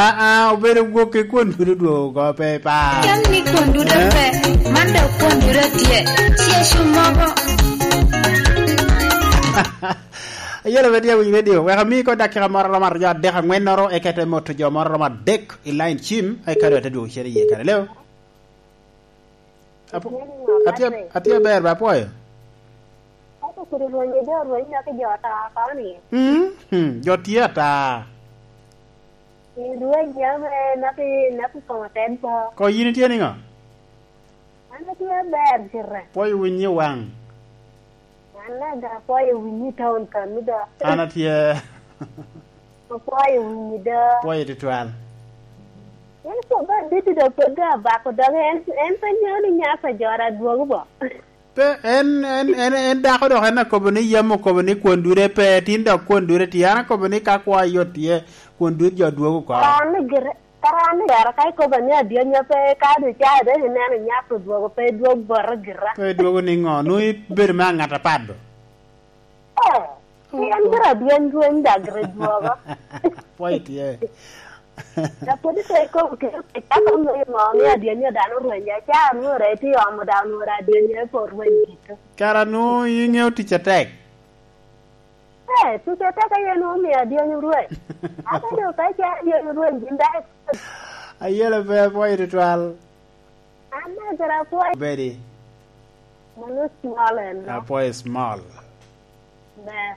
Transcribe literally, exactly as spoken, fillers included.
Aa, obedo gwok i kwon duto dwogo oko pe pa. Ken ni kwon duto pe, man dok kwon duto tye. Tye cu mogo. Ayelo pe tye awiny redio, wek ami ko dakika moro romo aryo adek angwennoro, eka ite moto jo moro romo adek i line cim, eka dong ate dwogo cen iye kare leo. Apo-, atye, atye aber ba, apwoyo. Ato kodi rwenyo jo, rwenyo ki jo ata koni. Mm, hmm, jo tye ata. I rwenyo ame napi, napi komo ted po. Ko yin itye niŋo? An atye aber gire. Pwoyo winyi waŋ. An aga pwoyo winyi town kami do. An atye. Apwoyo winyi do. Pwoyo tutwal. En kobo adit do pe ga bako dog en, en pe nyeo ni nyasa jora dwogo bo. Pe, en, en, en, en dako dok en akobo ni yam okobo ni kwon dure pe, tin dok kwon dure tye. An akobo ni ka kwa yot tye, kwon dut jo dwogo oko. Kara ni gire, kara ni gire, ka ikobo ni adyanya pe, ka du ca ebe ineno nyasa odwogo pe, dwog bote gira. Pe dwogo niŋo? Nwoŋo ibedo me aŋat apat do. Eh, pien gira dweny dweny dagre dwogo. Pwoyo tye. Lapwod ite ikobo kede pecaka onwoŋo ŋo ni adyeni dano orwenyo, aca anwoŋo ite i omo dano onwoŋo adyeni pe orweny kito. Kara nwoŋo iŋeo tic atek. Eh, tic atek aye nwoŋo omio adyeni orweny. Aka doŋ ka ica adyeni orweny gin dok ikobo. Ayelo pe apwoyo tutwal. An me gira apwoyo. Bedi. Mano small en no. Apwoyo small. Ber.